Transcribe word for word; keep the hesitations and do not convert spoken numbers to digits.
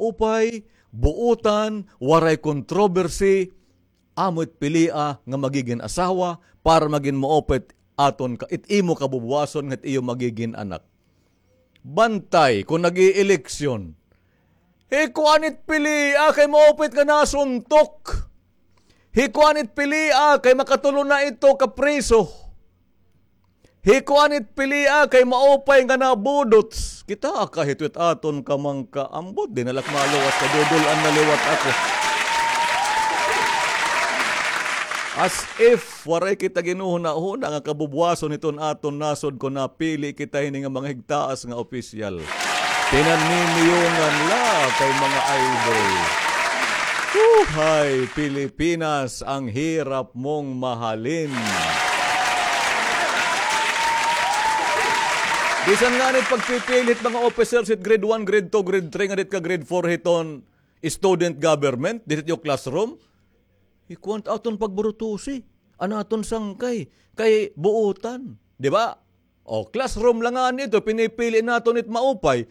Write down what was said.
maupay, buotan, waray controversy, amo it pilia nga magigin asawa para magin maupay it aton ka, it imo kabubuwason nga it iyo magigin anak. Bantay kon nag-ieleksyon. Hikuan it pilia kay maupay it nga nasuntok. Hikuan it pilia kay makatulo na ito ka priso. Hikuan it pilia kay maupay nga nabudots. Kita ka hito it aton kamangka ambot, di na la ak maluwas kay dudul-an na liwat ako. As if waray kita ginhuhuna-huna nga kabubuwason hiton aton nasod kon napili kita hini nga mga higtaas nga opisyal. Pinanimiyungan la kay mga idol. Buhay Pilipinas, ang hirap mong mahalin. Bisan ngani it pagpipili hit mga officers hit grade one, grade two, grade three, ngadto ka grade four hiton student government, didto it iyo classroom, ikuan it aton pagburutusi, an aton sangkay, kay buotan, di ba? O, classroom la ngani ito, pinipili naton it maupay.